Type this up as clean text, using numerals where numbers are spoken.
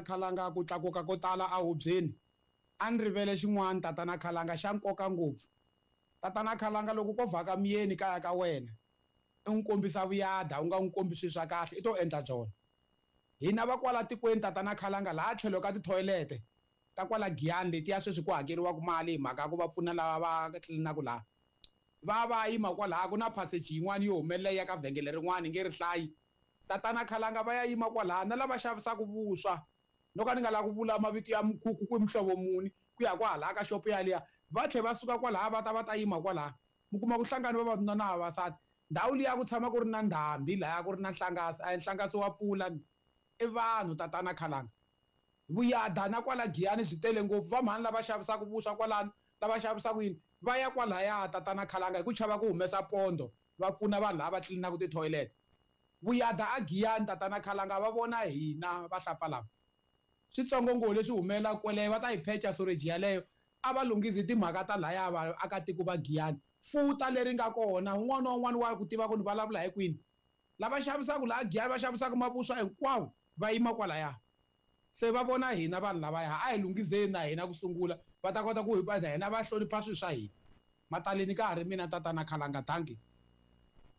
Khalanga ku tlakuka ko tala ahubyeni. A ni rivele xin'wana tatana Khalanga xa nkoka ngopfu. Tatana Khalanga loko ko vhaka muyeni kaya ka wena i n'wi kombisa vuyada u nga n'wi kombi swilo swa kahle i to endla byona. Hina va kwala tikweni tatana Khalanga laha tlhelo ka tithoyilete ta kwala Giyani letiya sweswi ku hakeriwaka mali hi mhaka ya ku va pfuna lava va tlilinaka laha va va yima kwalaha ku na passage yin'wana yo humelela yi ya ka vhengele rin'wana hi nge ri hlayi. Tatana Khalanga va ya yima kwalaya na lava xavisaka vuswa no ka ni nga lavi ku vula mavito ya mikhukhu ku i muhlovo muni ku ya kwahalaya ka xopo yaliya va tlhe va suka kwalaya va ta va ta yima kwalaya mi kuma ku hlangane vavanuna na vavasati ndhawu liya ku tshama ku ri na ndhambi laya ku ri na nhlangasi a hi nhlangasi wa pfula ni i vanhu tatana Khalanga vuyada na kwala Giyani byi tele ngopfu va mhani lava xavisaka vuswa kwalano lava xavisaka yini va ya kwalaya tatana Khalanga hi ku chava ku humesa pondo va pfuna vanhu lava va tlilinaka ti-toilet Vuyada a Giyani tatana Khalanga va vona hina vahlapfa lava. Switsongo ngo leswi humelelaka kweleyo va ta yi phecha soreji yaleyo a va lunghizi timhaka ta laya vaakatiko va Giyani. Futa leri nga kona un'wana na un'wana wa ku tiva ku ni vulavula hi kwini. Lava xavisaka laha Giyani va xavisaka mavuswa hinkwawo va yima kwalaya. Se va vona hina vanhu lavaya a hi lunghizeni na hina ku sungula va ta kota ku na hina va hlonipha swilo swa hina. Mataleni ka ha ri mina tatana Khalanga dankie.